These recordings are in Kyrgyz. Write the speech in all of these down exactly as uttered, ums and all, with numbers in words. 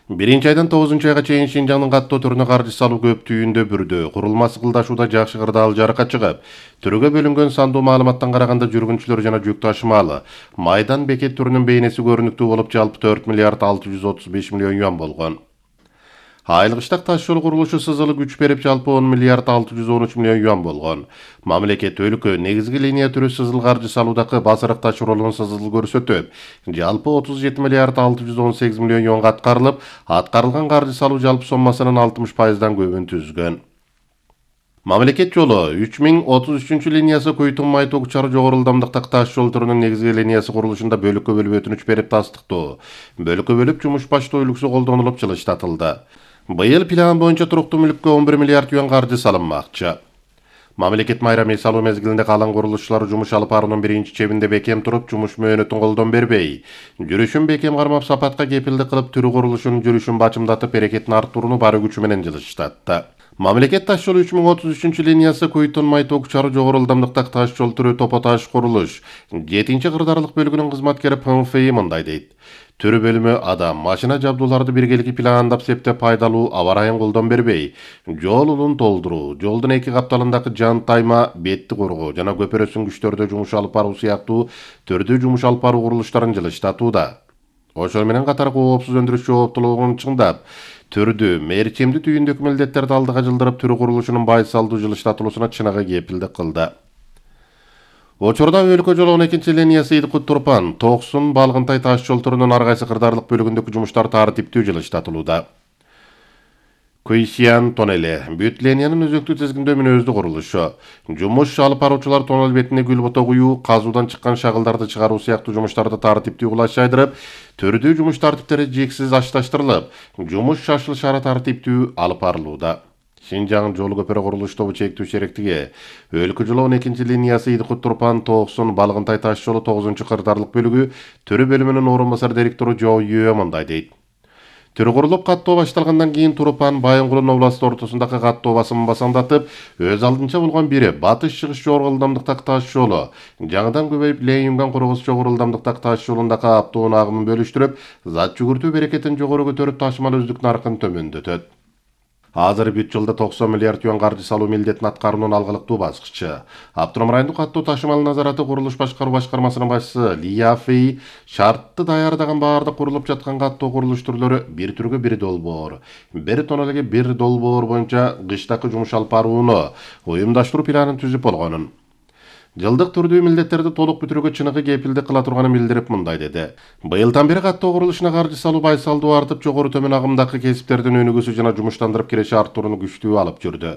Биринчи айдан тогузунчу айга чейин Шинжаңдын каттоо түрүнө каржы салуу көп түйүндө бүрдү. Курулма сыкылдашууда жакшы кырдаал жаракка чыгып, түргө бөлүнгөн сандуу маалыматтан караганда жүргүнчүлөр жана жүк ташымалы майдан бекет түрүнүн бейнеси көрүнүктүү болуп, жалпы төрт миллиард алты жүз отуз беш миллион юан болгон. Айылгыштак таш жол курулушу сызылы күч берип, жалпы он миллиард алты жүз он үч миллион юан болгон. Мамлекет өлкө негизги линия түрү сызыл каржы салуудагы басырык таш ролун сызыл көрсөтөт. Жалпы отуз жети миллиард алты жүз он сегиз миллион юанга аткарылып, аткарылган каржы салуу жалпы соммасынын алтымыш пайыздан көбүн түзгөн. Мамлекет жолу үч миң отуз үчүнчү линиясы Куйтун Майток чары жогору ылдамдыктагы таш жол түрүнүн негизги линиясы курулушунда бөлүккө бөлүп өтүнүч берип тастыктоо. Бөлүккө бөлүп жумуш баштоо үлгүсү колдонулуп жылыштатылды. Быйыл план боюнча туруктуу мүлккө он бир миллиард юан каржы салынмакчы. Мамлекет майрам эс алуу мезгилинде калан курулушчулар жумуш алып баруунун биринчи чебинде бекем туруп, жумуш мөөнөтүн колдон бербей, жүрүшүн бекем кармап, сапатка кепилдик кылып, түрү курулушунун жүрүшүн бачымдатып, эрекетин арттырууну бары күчү менен жылыштатты. Мамлекет таш жолу үч миң отуз үчүнчү линиясы Куйтун Майток чары жогору ылдамдыктагы таш жол түрү Топо таш курулуш жетинчи кырдаарлык бөлүгүнүн кызматкери П М Ф И мындай дейт. Түрү бөлүмү адам, машина жабдууларды биргеликти пландап, септеп пайдалуу, аба ырайын колдон бербей, жол улун толтуруу, жолдун эки капталындагы жан тайма, бетти коргоо жана көпүрө сүңгүчтөрдө жумуш алып баруу сыяктуу түрдүү жумуш алып баруу курулуштарын жылыштатууда. Ошол менен катар коопсуз өндүрүш жооптуулугун чыңдап, түрдүү, мерчемдүү түйүндөгү милдеттерди алдыга жылдырып, түрү курулушунун байсалдуу жылыштатылуусуна чыныгы кепилдик кылды. Учурда өлкө жолу он экинчи линиясы Идкут Турпан, Токсун, Балгынтай таш жол түрүнүн ар кайсы кырдаарлык бөлүгүндөгү жумуштар тартиптүү жылыштатылууда. Куйсиян тоннели бүт линиянын өзөктүү тизгиндөө мүнөздүү курулушу. Жумуш алып баруучулар тоннел бетине гүл бото куюу, казуудан чыккан шагылдарды чыгаруу сыяктуу жумуштарды тартиптүү кулаш жайдырып, түрдүү жумуш тартиптери жиксиз ашташтырылып, жумуш шашыл шара тартиптүү алып барылууда. Шинжаң жол көпүрө курулуш тобу чектүү шеректиги өлкө жолу он экинчи линиясы Идкут Турпан, Токсун, Балгынтай таш жолу тогузунчу кырдаарлык бөлүгү түрү бөлүмүнүн орун басар директору Жоо Юэ мындай дейт. Түрү курулуп, каттоо башталгандан кийин Турпан, Байынгулун областы ортосундагы каттоо басымын басаңдатып, өз алдынча болгон бири батыш-чыгыш жогору ылдамдыктагы таш жолу, жаңыдан көбөйүп Лейюнган Кургус жогору ылдамдыктагы таш жолундагы аптоонун агымын бөлүштүрүп, зат жүгүртүү берекетин жогору көтөрүп, ташымал өздүк наркын төмөндөтөт. Азыр бүт жылда токсон миллиард юан каржы салуу милдетин аткаруунун алгылыктуу баскычы. Автоном райондук каттоо ташымал назараты курулуш башкаруу башкармасынын башчысы Лия Фэй шартты даярдаган баардык курулуп жаткан каттоо курулуш түрлөрү бир түргө бир долбоор, бир тоннелге бир долбоор боюнча кыштакы жумуш алып барууну уюмдаштыруу планын түзүп болгонун. Жылдык түрдүү милдеттерди толук бүтүрүүгө чыныгы кепилдик кыла турганын билдирип мындай деди. Быйылдан бери каттоо курулушуна каржы салуу байсалдуу артып, жогору төмөн агымдагы кесиптердин өнүгүүсү жана жумуштандырып киреше арттырууну күчтүү алып жүрдү.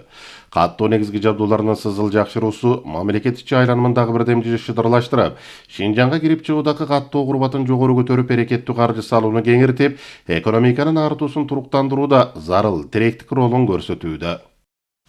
Каттоо негизги жабдууларынын сызыл жакшыруусу мамлекет ичи айланмындагы бирдемчи шыдырлаштырып, Шинжаңга кирип чыгуудагы каттоо курбатын жогору көтөрүп, эрекеттүү каржы салууну кеңиртип, экономиканын артуусун туруктандырууда зарыл тиректик ролун көрсөтүүдө.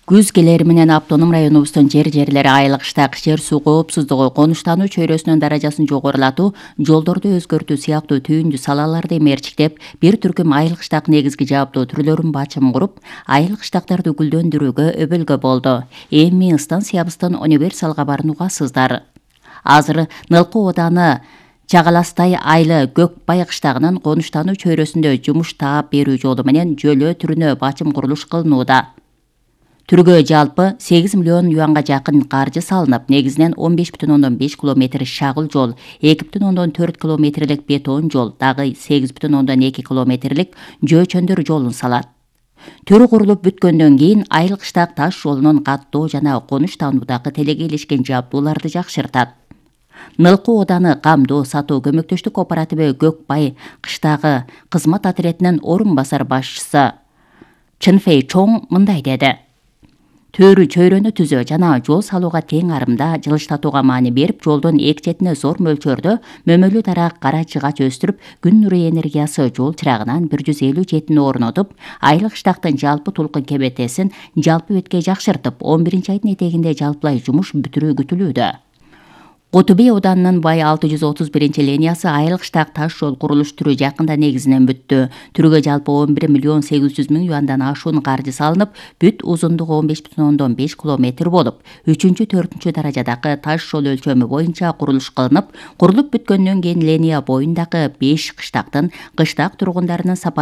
Күз келери менен автоном районубуздун жер жерлери айылгыштак жер суу коопсуздугу, конуштануу чөйрөсүнүн даражасын жогорулатуу, жолдорду өзгөртүү сыяктуу түйүндүү салаларды мерчиктеп, бир түркүм айылгыштак негизги жабдуу түрлөрүн бачым куруп, айылгыштактарды гүлдөндүрүүгө өбөлгө болду. Эми станциябыздын универсал кабарын угасыздар. Азыр Нылкы ооданы Чагаластай айылы Көкбай кыштагынын конуштануу чөйрөсүндө жумуш таап берүү жолу менен жөлөө түрүнө бачым курулуш кылынууда. Түргө жалпы сегиз миллион юанга жакын каржы салынып, негизинен он беш бүтүн ондон беш километр шагыл жол, эки бүтүн ондон төрт километрлик бетон жол, дагы сегиз бүтүн ондон эки километрлик жөөчөндөр жолун салат. Түрү курулуп бүткөндөн кийин айылгыштак таш жолунун каттоо жана конуштануудагы телегейлешкен жабдууларды жакшыртат. Нылкы ооданы камдоо сатуу көмөктөштүк кооперативи Көкбай кыштагы кызмат отрядынын орун басар башчысы Чынфей Чоң мындай деди. Төрү чөйрөнү түзөө жана жол салууга тең арымда жылыштатууга маани берип, жолдун эки четине зор мөлчөрдө мөмөлүү дарак кара жыгач өстүрүп, күн нуру энергиясы жол чырагынан бир жүз элүү жетини орнотуп, айылгыштактын жалпы толкун кебетесин жалпы бетке жакшыртып, он биринчи айдын этегинде жалпылай жумуш бүтүрүү күтүлүүдө. Кутубей ауданынын Бай алты жүз отуз биринчи линиясы айылгыштак таш жол курулуш түрү жакында негизинен бүттү. Түргө жалпы он бир миллион сегиз жүз миң юандан ашуун каржы салынып, бүт узундугу он беш бүтүн ондон беш километр болуп, үчүнчү төртүнчү даражадагы таш жол өлчөмү боюнча курулуш кылынып, курулуп бүткөндөн кийин линия боюндагы беш кыштактын кыштак тургундарынын сапар